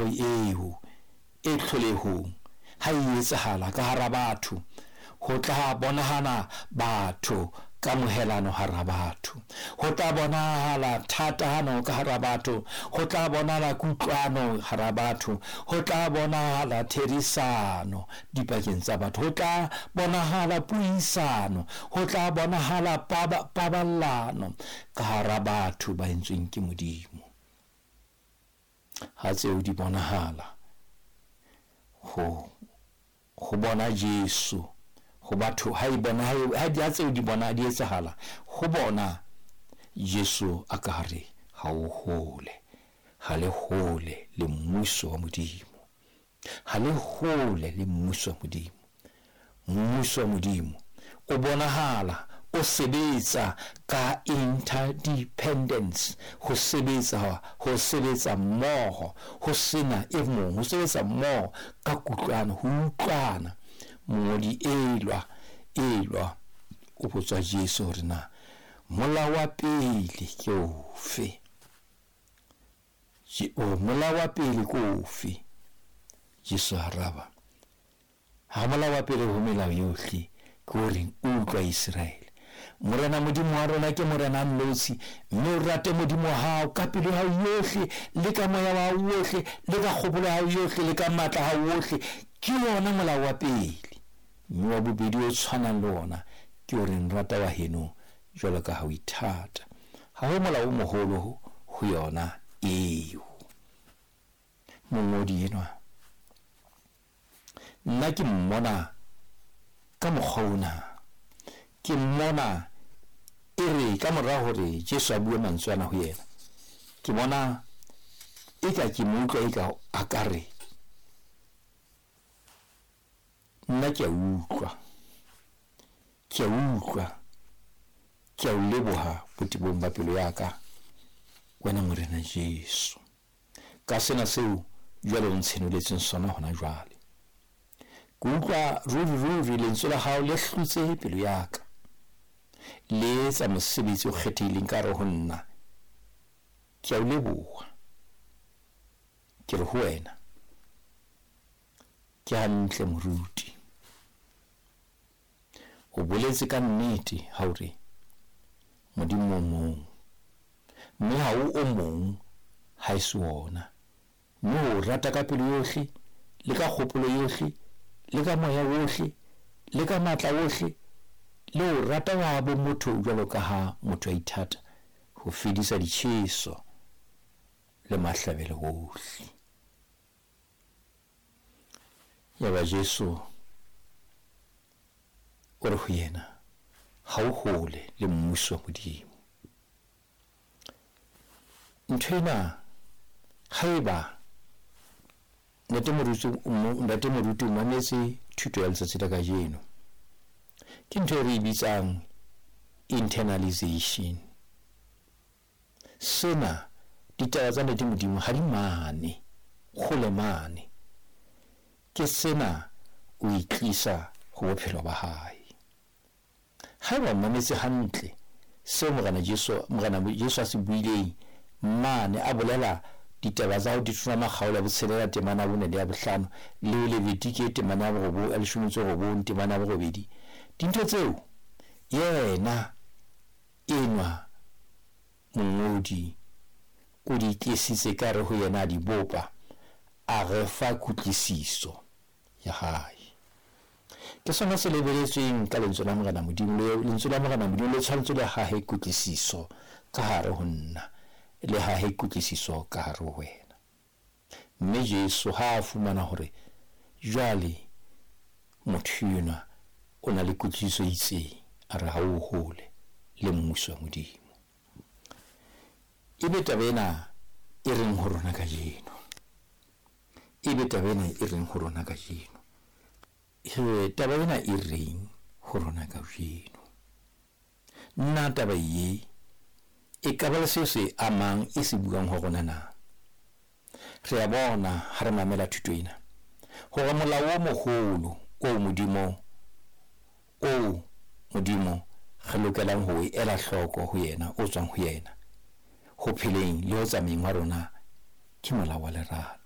Phetoho eo e tlholehong ha e etsahala ka hara batho, ho tla bonahala batho kamohelano hara batho, ho tla bonahala thatano ka hara batho, ho tla bonahala kutlwano hara batho, ho tla bonahala therisano dipakeng tsa batho, ho tla bonahala puisano, ho tla bonahala paballano ka hara batho ba entsweng ke Modimo. Ha tseo di bonahala, ho bona Jesu ho batho, ha e bona, ha di tseo di bona di etsahala ho bona Jesu a ka re ha o hole, ha le hole le mmuso wa Modimo, ha le hole le mmuso wa Modimo. Mmuso wa Modimo o bonahala o sebetsa ka interdependence, ho sebetsa mmoho, ho sena e mong, ho sebetsa mmoho ka kutlwano, ho utlwana. Mongodi elwa o botswa Jesu hore na molao wa pele ke ofe? Molao wa pele ke ofe? Jesu araba, ha molao wa pele ho melao yohle ke o reng, utlwa Iseraele, Morena Modimo wa rona ke Morena a nnotshi, mme o rate Modimo wa hao ka pelo ya hao yohle, le ka moya wa hao wohle, le ka kgopolo ya hao yohle, le ka matla a hao wohle. Ke wona molao wa pele. Mme wa bobedi o tshwanang le wona ke o reng, rata wa heno jwalo ka ha o ithata. Ha ho molao o moholo ho yona eo. Mongodi enwa, nna ke mmona ka mokgwa ona, ke mmona e re ka mora hore Jesu a bue mantswe ana ho yena, ke bona eka ke mo utlwa eka a ka re, nna ke a utlwa, ke a utlwa, ke a o leboha botebong ba pelo ya ka, wena Morena Jesu, ka sena seo jwale o ntshenoletseng sona hona jwale. Ke utlwa ruri ruri lentswe la hao le hlotse pelo ya ka, le etsa mosebetsi o kgethehileng ka hare ho nna. Ke a o leboha, ke re ho wena, ke hantle moruti, o boletse ka nnete ha o re Modimo o mong, mme ha o o mong ha e se wona, mme o rata ka pelo yohle, le ka kgopolo yohle, le ka moya wohle, le ka matla wohle, le o rata wa bo motho jwalo ka ha motho a ithata, ho fedisa ditjheso le mahlabelo wohle. Yaba Jesu o re ho yena, ha o hole le mmuso wa Modimo. Ntho ena haeba ntate moruti o mametse thuto ya letsatsi la kajeno, ke ntho e re e bitsang internalization. Sena ditaba tsa ntate Modimo ha di mane, kgole mane. Ke sena o itlisa ho bophelo ba hae. Haeba o mametse hantle seo Morena Jesu a se buileng mane, a bolela ditaba tsa ho Deuteronoma kgaolo ya 6 temana ya 4 le ya 5, le Levitike temana ya 19 temana ya 8, dintho tseo yena enwa mongodi o di tlisitse ka re ho yena a di bopa, a re fa kutlwisiso ya hae. Ke sona se lebeletsweng ka lentswe la Morena Modimo, lentswe la Morena Modimo le tshwanetse le hahe kutlwisiso ka hare ho nna, le hahe kutlwisiso ka hare ho wena. Mme Jesu ha a fumana hore jwale motho enwa o na le kutlwisiso e itseng, a re ha o hole le mmuso wa Modimo. Ebe taba ena e reng ho rona kajeno? Ebe taba ena e reng ho rona kajeno? Taba ena e reng ho rona kajeno? Nna taba ye e ka ba le seo se amang e se buang ho rona na? Re a bona ha re mamela thuto ena hore molao o moholo o Modimo re lokelang ho ela hloko ho yena, o tswang ho yena ho pheleng le ho tsamayeng wa rona, ke molao wa lerato.